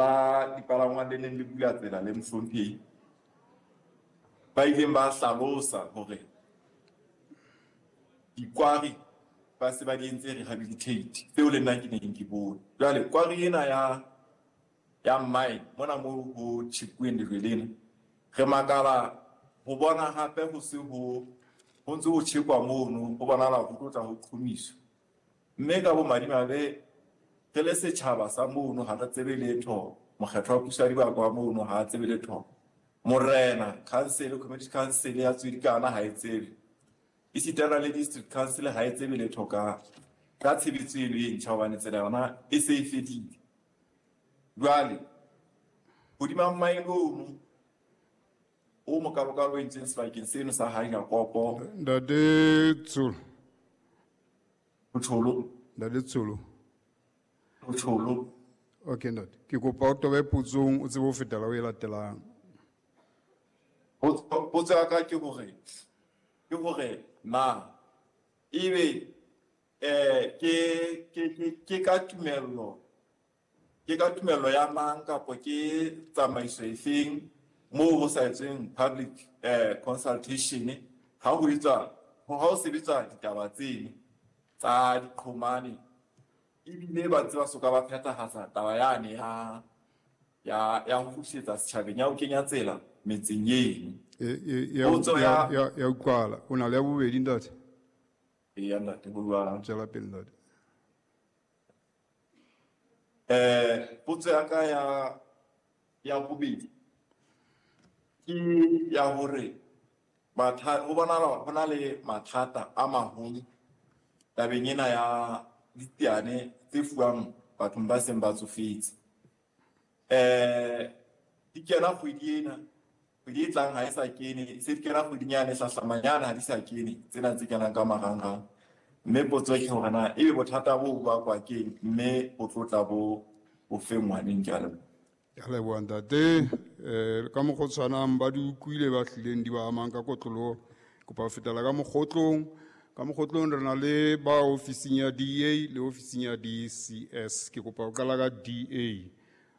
La dipalangwang le neng le bula tsela le mohlomphehi ba ileng ba hlalosa hore dikwari ba se ba di entse rehabilitate, tseo le nna ke neng ke bone. Jwale kwari ena ya mine mona moo ho tjhekuweng lejwe lena, re makala ho bona hape ho se ho ntse ho tjhekwa mono, ho bonahala ho tlo tla ho qhomiswa. Mme ka bomadimabe re le setjhaba sa mono ha re tsebe letho, mokgetho wa puso ya dibaka wa mono ha a tsebe letho, morena council, community council ya Tswedikana ha e tsebe, esitana le district council ha e tsebe letho ka tshebetso eno e ntjha, hobane tsela yona e se e fedile. Jwale hodima mine ono o mokalokalo o entsweng sebakeng seno sa ha Jakopo. Ntate Tsholo. Tsholo. Ntate Tsholo. Tsholo. Okay, ntate. Ke kopa o tobe potsong o tsebe ho fetela o e latelang. Potso ya ka ke hore na ebe ke ka tumello, ke ka tumello ya mang kapa ke tsamaiso efeng moo ho sa etsweng public consultation ha ho etswa, ha ho sebetswa ditaba tseno tsa diqhomane, ebile ba ntse ba soka ba phethahatsa taba yane ya ho kgutlisetsa setjhabeng, ya ho kenya tsela metseng eno. Ya utlwala. O na le ya bobedi, ntate? Eya, ntate, ho jwalo. Tswela pele, ntate. Potso ya ka ya bobedi ke ya hore ho bonahala ho na le mathata a maholo tabeng ena ya diteane tse fuwang bathong ba seng ba tsofetse. Di kena kgwedi ena, kgwedi e tlang ha e sa kene, se di kena kgweding yane e hlahlamang yane ha di sa kene, tsena tse kenang ka marangrang. Mme potso ke hore na ebe bothata bo bakwa keng, mme bo tlo tla bo fengwa neng? Ke a leboha. Ke a leboha, ntate. Ka mokgwa o tshwanang ba di utlwile ba hlileng di ba amang ka kotloloho. Kopa ho fetela ka mokgotlong. Ka mokgotlong re na le ba ofising ya DA le ofising ya DCS. Ke kopa ho qala ka DA.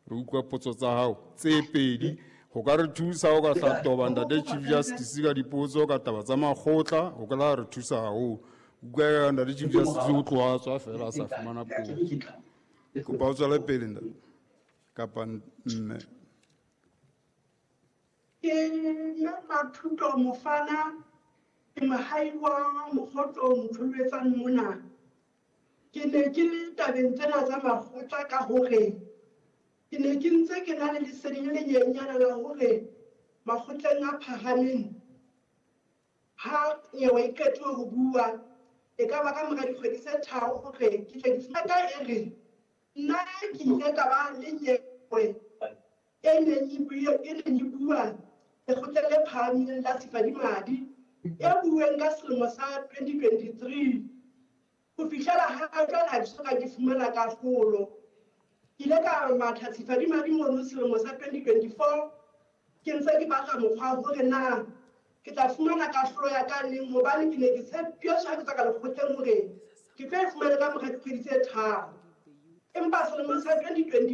Re utlwa potso tsa hao tse pedi. Ho ka re thusa ho ka hlatoba ntate Chief Justice ka dipotso ka taba tsa makgotla, ho ka la re thusa haholo. Utlwa ntate Chief Justice o tloha a tswa fela a sa fumana puo. Kopa o tswele pele ntate kapa mme. Ke nna Mathuto Mofana, ke mohai wa mokgotlo motholwetsang mona. Ke ne ke le tabeng tsena tsa makgotla ka hore ke ne ke ntse ke na le lesedi le lenyenyana la hore makgotleng a phahameng ha nyewe e qetuwe ho bua, e ka ba ka mora dikgwedi tse 3 hore ke tle ke fumane ka e re nna ke ile ka ba le nyewe e neng e bua lekgotleng le phahameng la Sefadimadi e bueng ka selemo sa 2023. Ho fihlela ha jwale ha ke soka ke fumana kahlolo. Ke ile ka matha Sefadimadi mono selemo sa 2024, ke ntse ke batla mokgwa hore na ke tla fumana kahlolo ya ka neng, hobane ke ne ke tshepiswa ha ke tswa ka lekgotleng hore ke tlo e fumana ka mora dikgwedi tse 3. Empa selemong sa 2024